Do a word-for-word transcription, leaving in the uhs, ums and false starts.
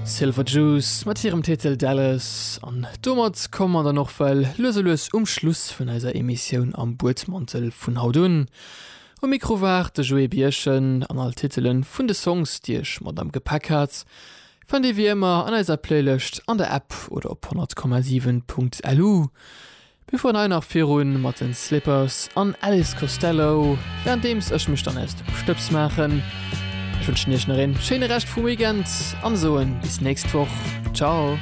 Silver Jews mat hirem Titel Dallas an domat komme mer dann och well lues a lues um Schluss vun eiser Emissioun Am Buedmantel vun haut un. Um Mikro war de Joé Birchen an all Titelen vun de Songs, déi ech mat am Gepäck hat, fannt dir wéi ëmmer an eiser Playlëscht an der App oder op honnert Komma siwen Punkt lu. Mir fueren hei nach virun mat den Slippers an Elvis Costello, währenddeems ech mech dann aus dem Stëbs maachen. Ech wënschen iech nach een schéine Rescht vum Weekend an soen bis nächst Woch. Ciao!